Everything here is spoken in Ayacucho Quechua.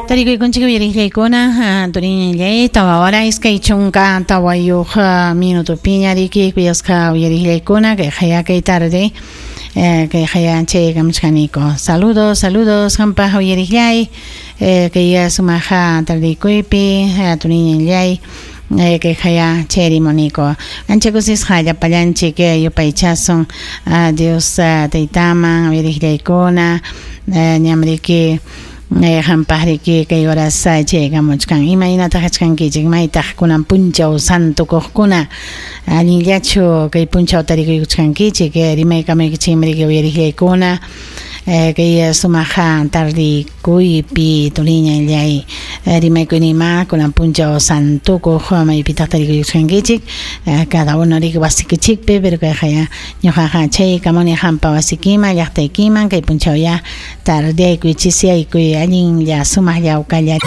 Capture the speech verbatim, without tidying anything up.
Tarikuykunchik uyariqllaykuna turiñallay tawa hora iskay chunka tawayuq minutopiña riki kuyasqa uyariqllaykuna kay haya kay tarde kay haya chaykamuchkaniko. Saludos, saludos hampaq uyariqllay kay sumaqa tardekuypi turiñallay kay haya chayrimuniko. Ancha kusisqa llapallanchik yupaychasun Dios taytaman uyariqllaykuna ñamriki hampaqriki kay horas chaykamuchkan. Imaynataq kachkankichik maytaq kunan punchaw santukuqkuna allinllachu kay punchaw tarikuykuchkankichik rimaykamaykichikmi uyariqllaykuna kay sumaqa tardikuypi turiñallay rimaykuynima kunan punchaw santukuq maypitaq tarikuykuchkankichik cada uno riki wasikichikpi pero kay haya ñuqaqa chaykamuni hampa wasikiman llaqtaykiman kay punchaw ya tardeaykuy chisiyaykuy allinlla sumaqlla awkalla.